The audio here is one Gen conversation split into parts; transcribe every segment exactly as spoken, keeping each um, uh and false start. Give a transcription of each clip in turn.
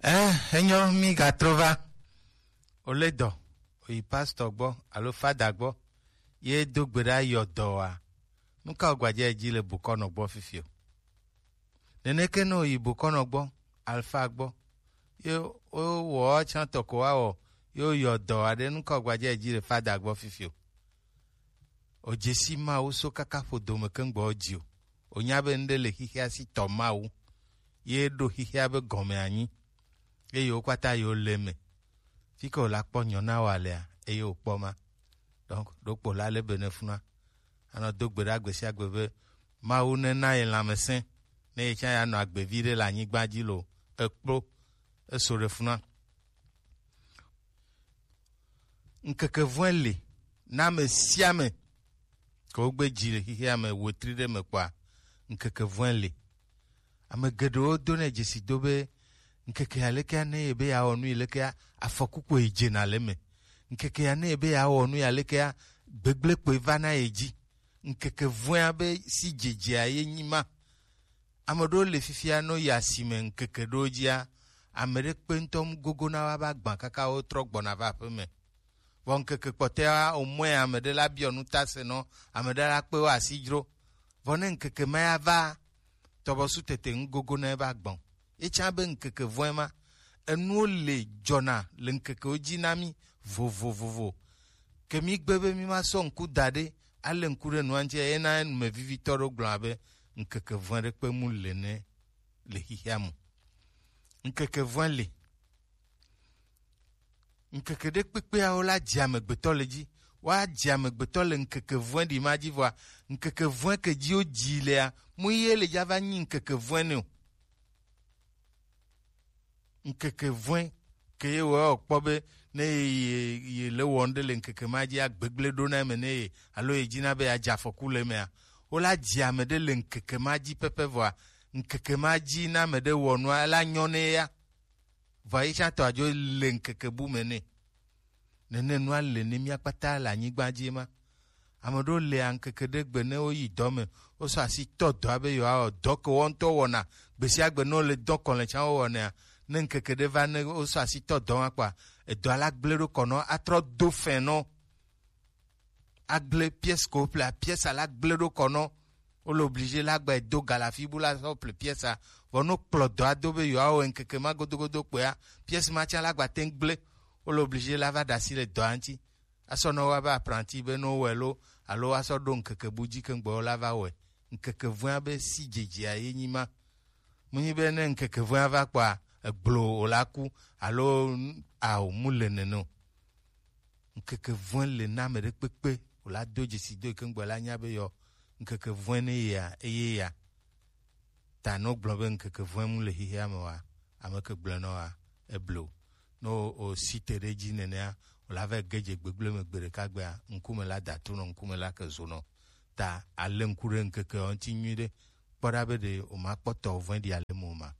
Eh, enyo, mi gatrɔ va. Ole dɔ, oyi pastor gbɔ alo fada gbɔ, ye do gbe ɖa yɔ dɔ wa. Nu ka wògbaje dzi le bokɔnɔ gbɔ fifi o? Neneke ne oyi bokɔnɔ gbɔ, alfa gbɔ, ye wowɔ tsã tɔ ko wa wɔ, ye woyɔ dɔ wa ɖe, nu ka wògbaje dzi le fada gbɔ fifi o? Òdze si Mawu so kaka ƒodo me keŋgbɔ dzi o. Ònya be ŋɖe le xixea si tɔ Mawu, ye ɖo xixea be gɔme anyi, eye wo kpata yewo le eme. Fi ke wòla kpɔ nyɔ na wò alea, eye wòkpɔ ma. Donc, ɖokpo la le be ne funua. Anɔ do gbe ɖa gbe sia gbe be Mawu nena ye lãmesẽ, ne ye tsã ya nɔ agbe vi ɖe le anyigba dzi lo, ekplo, eso ɖe funua. Ŋkeke vɔ̃e li na ame sia ame, ke wogbe dzi le xexea me wetri ɖe me kpɔa, ŋkeke vɔ̃e li. Ame geɖewo do nɛ dzesi do be ŋkeke alekea ne ye be yeawɔ nu yi lekea, afɔku koe dzena le eme. Ŋkeke ya ne ye be yeawɔ nu yi alekea, gbegblẽ koe vana ye dzi. Ŋkeke vɔ̃ea be si dzedzea ye nyi ma. Ame ɖewo le fifia, no yi asime ŋkeke ɖewo dzia, ame ɖe kpe ŋutɔ mu gogo na woa be agba kaka wotrɔ gbɔna va aƒe me. Vɔ ŋkeke kpɔtɔea, omɔe ame ɖe la biɔ nu ta se nɔ, ame ɖe la kpe wo asi dzro. Vɔ ne ŋkeke ma ya va, tɔbɔsu tete ŋu gogo na ebe agba o. Etsã be ŋkeke vɔ̃e ma, enuwo le dzɔna le ŋkekewo dzi na mí vovovovo. Ke mí gbe be mí ma sɔ ŋku da ɖe, ale ŋku ɖe nua ŋuti, ena numevivitɔ ɖo gblɔ be ŋkeke vɔ̃e ɖe kpe mu le ne le xixea me. Ŋkeke vɔ̃e li. Ŋkeke ɖe kpekpea wo la dzi amegbetɔ le dzi. Woadzi amegbetɔ le ŋkeke vɔ̃e ɖi ma dzi vɔa, ŋkeke vɔ̃e ke dzi wo dzi lea, mu ye le dza va nyi ŋkeke vɔ̃e ne o. Ŋkeke vɔ̃e ke ye wɔ kpɔ be ne ye, ye, ye le wɔm ɖe le ŋkeke ma dzi agbegblẽ ɖo na eme ne ye, alo ye dzi na be yeadze afɔku le emea, wo la dzi ame ɖe le ŋkeke ma dzi pɛpɛ vɔa, ŋkeke ma dzi na ame ɖe wɔ nua, ela nyɔ ne ya. Vɔ ye tsã tɔ adzo le ŋkeke bu me nɛ. Nene nua le ne mía kpata le anyigba dzi ma. Ame ɖewo le ŋkeke ɖe gbe ne woyi dɔ me, wosɔ asi tɔ dɔa be yewoawɔ dɔ ke wo ŋutɔ wɔna. Gbe sia gbe ne wole dɔ kɔ le tsã wowɔnɛa, ne ŋkeke ɖe va ne wosɔ asi tɔ dɔ ma kpɔa, edɔa la gblẽ ɖo kɔ nɔ atrɔ do fɛn nɔ. Agblẽ pièce ko ƒlea, pièce la gblẽ ɖo kɔ nɔ. Wole obligé la gba do galafi bu la sɔ ple pièce a. Vɔ no kplɔ dɔa do be yewoawɔ ŋkeke ma godogodo kpɔa, pièce ma tsã la gba te ŋu gblẽ. Wole obligé la va ɖe asi le dɔa ŋuti. Asɔ nɔ wa be apprenti be no wɔe lo, alo asɔ ɖo ŋkeke bu dzi keŋgbe wo la va wɔe. Ŋkeke vɔ̃a be si dzedzea ye nyi ma. Mu nyi be ne ŋkeke vɔ̃a va kpɔa, egblo wòla ku, alo ao mu le nene o. Ŋkeke vɔ̃e le na ame ɖe kpekpe wòla do dzesi do yi ke ŋgbe la nya be yɔ ŋkeke vɔ̃e ne yea eye ya. Ta ne wogblɔ be ŋkeke vɔ̃e mu le xexea me wa, ame ke gblɔe nɔ wa, eblo. Ne o, o si te ɖe edzi nenea, wòla va ge dze gbegblẽ me gbe ɖeka gbea, ŋkume la da to nɔ, ŋkume la ke zo nɔ. Ta ale ŋku ɖe ŋkeke ŋuti nyuiɖe, kpɔ ɖa be ɖe wòmakpɔ tɔ vɔ̃e ɖi ale me o ma.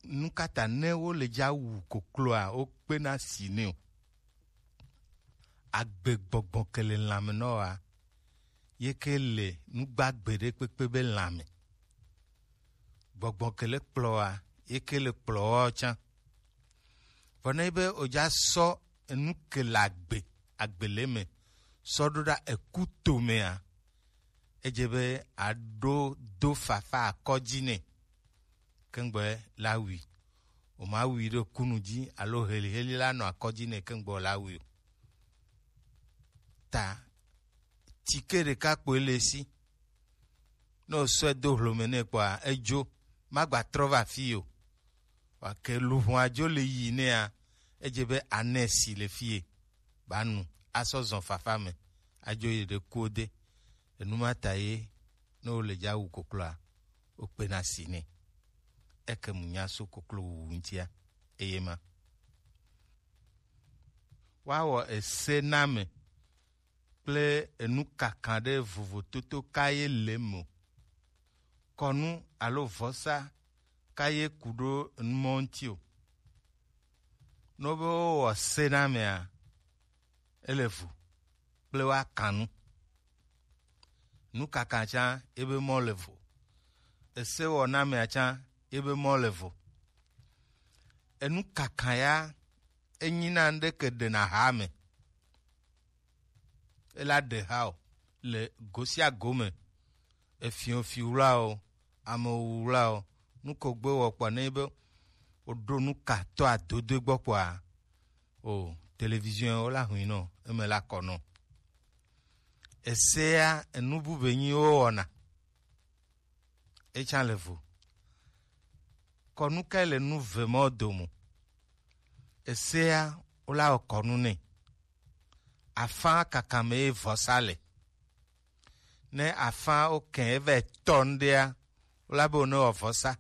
Nu ka ta ne wole dza wu kokloa, wokpena si nɛ o? Agbe gbɔgbɔ ke le lãme nɔ wa, ye ke le nu gbagbe ɖe kpekpe be lãme. Gbɔgbɔ ke le kplɔ wa, ye ke le kplɔ wa tsã. Vɔ ne be wodza sɔ enu ke le agbe, agbe le me, sɔ ɖo ɖa eku tomea, edze be aɖo do fafa akɔ dzi nɛ. Keŋgbe la wui. Woma wui ɖe kunu dzi alo heliheli la nɔ akɔ dzi nɛ keŋgbe la wui o. Ta tike ɖeka kpoe le esi. Ne wosɔe do hlome nɛ kpɔa, edzo, magba trɔ va fi o. Wake luʋɔa dzo le yi nɛa, edze be anɛ si le fie. Ba nu, asɔ zɔn fafa me, adzo yi ɖe kuwo de. Enu ma ta ye, ne wole dza wu kokloa, wokpena si nɛ. Eke mu nya so koklo wuwu ŋutia, eye ma. Woawɔ ese na ame kple enu kaka ɖe vovototo ka ye le eme o. Kɔnu alo vɔsa ka ye ku ɖo enumɔ ŋuti o. Ne wobe wowɔ se na amea, ele vo kple woaka nu. Nu kaka tsã, ebe mɔ le vo. Ese wɔ na amea tsã, ye be mɔ le vo. Enu kaka ya, enyi na ŋɖe ke ɖe na ha me. E la ɖe ha o le go sia go me. Efiɔfi wla o, ame wu wla o, nu ko gbe wɔ kpɔ ne be o ɖo nu ka tɔ adodo gbɔ kpɔa, o télévision wo la hui nɔ, eme la kɔ nɔ. Esea enu bu be nyi wo wɔna. Etsa le vo. Kɔnu kae le nu ve mɔ domo? Esea wo la wɔ kɔnu nɛ. Afã kaka me ye vɔsa le. Ne afã wo kɛ eva tɔ ŋɖea, wo la be wo ne wɔ vɔsa.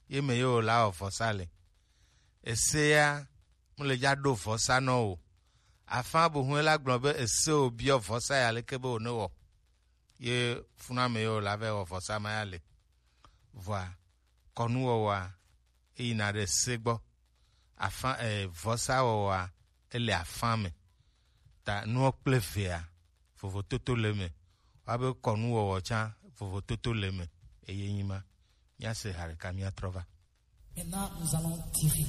Ye me ye wo la wɔ vɔsa le. Esea mu le dza ɖo vɔsa nɔ o. Afã bo hu la gblɔ be ese wo biɔ vɔsa ya leke be wo ne wɔ. Ye funa me ye wo la va wɔ vɔsa ma ya le. Vɔa kɔnuwɔwɔa eyina ɖe se gbɔ. Afã e, vɔsawɔwɔa ele afã me. Ta nuɔ kple vea vovototo le me. Wa be kɔnuwɔwɔ tsã vovototo le me. Eye nyi ma. Míase ha ɖeka míatrɔ va. Maintenant, nous allons tirer.